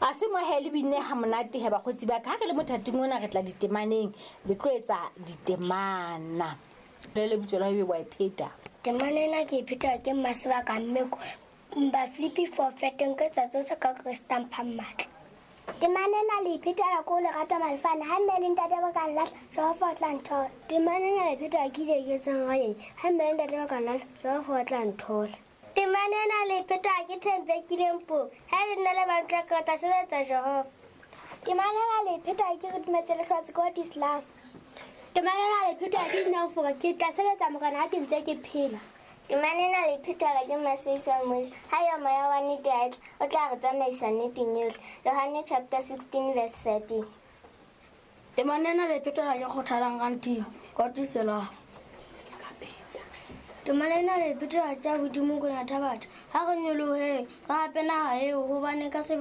A se mo he le binne ha monate he bakgotsi ba ka. Ha re le mothating ona re tla ditemaneng, le tlo etsa ditemana. Le le bitswa la ebe wa e pheta. Temana ena ke e pheta ke Mmasebaka Mmeko. Bafilipi 4 feteng ke tsa tsohle ka Kreste a mphang matla. Temana ena le e phetela ko lerato malefane ha mme le ntate ba ka nlahla Jehova o tla nthola. Temana ena le phetela ke ile ke etsang ranyeng ha mme le ntate ba ka nlahla Jehova o tla nthola. Temana ena le phetela ke thembekileng po ha le nna le bantla ka tla sebetsa Jehova. Temana ena le phetela ke re dumetse lehlwatsi God is love. Temana ena le phetela ke nna fora ke tla sebetsa Morena ha ke ntse ke phela. Temana ena le phethelwa ke Maseiso a Mose. Ha eo moya wa nnete a etla, o tla re tsamaisa nneteng yohle. Johanne chapter 16 verse 13. Temana ena le phethelwa ke Kgothalang Ranting, God is love. Temana ena le phethelwa ke Abuti Mokoena Thabatha. Ha re nyoloheng, re hape naha eo hobane ka sebele.